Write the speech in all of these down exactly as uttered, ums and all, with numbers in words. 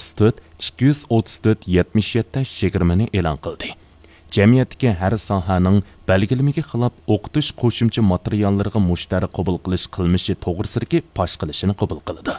ئوتتۇز تۆت، ئىككى يۈز ئوتتۇز تۆت، يەتمىش يەتتە، يىگىرمىنى ئېلان قىلدى. جەمئىيەتتىكى ھەر ساھەنىڭ بەلگىلىمىگە خىلاپ ئوقۇتۇش قوشۇمچە ماتېرىياللىرىغا مۇشتەرى قوبۇل قىلىش قىلمىشى توغرىسىدىكى پاش قىلىشىنى قوبۇل قىلىدۇ.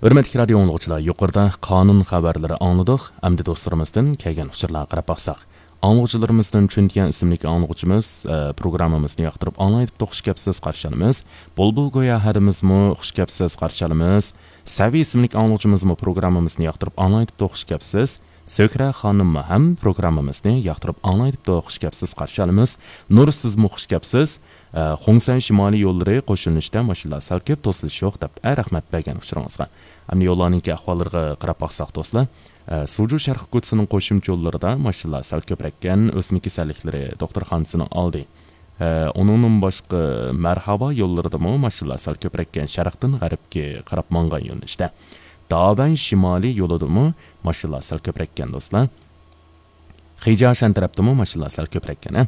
ھۆرمەتلىك رادىيو ئاڭلىغۇچىلار، يۇقىرىدا قانۇن خەۋەرلىرى ئاڭلىدۇق. ئەمدى دوستلىرىمىزدىن كەلگەن ئۇچۇرلارغا قاراپ باقساق. ئاڭلىغۇچىلىرىمىزدىن چۈنتيەن ئىسىملىك ئاڭلىغۇچىمىز، ئە، پروگراممىمىزنى ياقتۇرۇپ ئاڭلايدىپتۇ، خۇش كەپسىز، قارشى ئالىمىز. بۇلبۇل گويا ھەدىمىزمۇ خۇش كەپسىز، قارشى ئالىمىز. سەۋى ئىسىملىك ئاڭلىغۇچىمىزمۇ پروگراممىمىزنى ياقتۇرۇپ ئاڭلايدىپتۇ، خۇش كەپسىز. سۆھرە خانىممۇ ھەم پروگراممىمىزنى ياقتۇرۇپ ئاڭلايدىپتۇ، خۇش كەپسىز، قارشى ئالىمىز. نۇر، سىزمۇ خۇش كەپسىز. ئە، خۇڭسەن شىمالىي يوللىرى قوشۇلۇشتا ماشىنىلار سەل كۆپ، توسۇلۇش يوق، دەپ، ئە، رەھمەت بەرگەن ئۇچۇرىڭىزغا. ئەمدى يوللارنىڭكى ئەھۋاللىرىغا قاراپ باقساق، دوستلار. ئە، سۇجۇ شەرقىي كوچىسىنىڭ قوشۇمچە يوللىرىدا ماشىنىلار سەل كۆپرەككەن، ئۆسمە كېسەللىكلىرى دوختۇرخانىسىنىڭ ئالدى. ئە، ئۇنىڭدىن باشقا، مەرھابا يوللىرىدىمۇ ماشىنىلار سەل كۆپرەككەن، شەرقتىن غەربكە قاراپ ماڭغان يۆنىلىشتە. دابەن شىمالىي يولىدىمۇ ماشىنىلار سەل كۆپرەككەن، دوستلار. خىجاشەن تەرەپتىمۇ ماشىنىلار سەل كۆپرەككەن، ھە.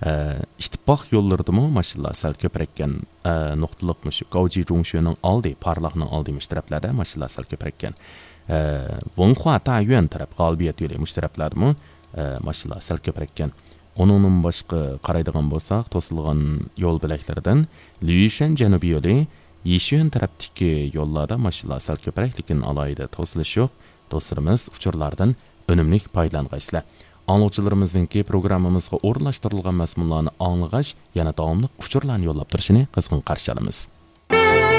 ئە، ئىتتىپاق يوللىرىدىمۇ ماشىنىلار سەل كۆپرەككەن. ئە، نۇقتىلىق مۇشۇ گاۋجى جۇڭشۆنىڭ ئالدى، پارلاقنىڭ ئالدى مۇشۇ تەرەپلەردە ماشىنىلار سەل كۆپرەككەن. ئە، ۋېنخۇا تايۈەن تەرەپ، غالىبىيەت يولى مۇشۇ تەرەپلەردىمۇ، ئە، ماشىنىلار سەل كۆپرەككەن. ئۇنىڭدىن باشقا قارايدىغان بولساق، توسۇلغان يول بۆلەكلىرىدىن لۈيشەن جەنۇبىي يولى، يىشۈەن تەرەپتىكى يوللاردا ماشىنىلار سەل كۆپرەك، لېكىن ئالاھىدە توسۇلۇش يوق. دوستلىرىمىز، ئۇچۇرلاردىن ئۈنۈملۈك پايدىلانغايسىلەر. ئاڭلىغۇچىلىرىمىزنىڭكى پروگراممىمىزغا ئورۇنلاشتۇرۇلغان مەزمۇنلارنى ئاڭلىغاچ، يەنە داۋاملىق ئۇچۇرلارنى يوللاپ تۇرۇشىنى قىزغىن قارشى ئالىمىز.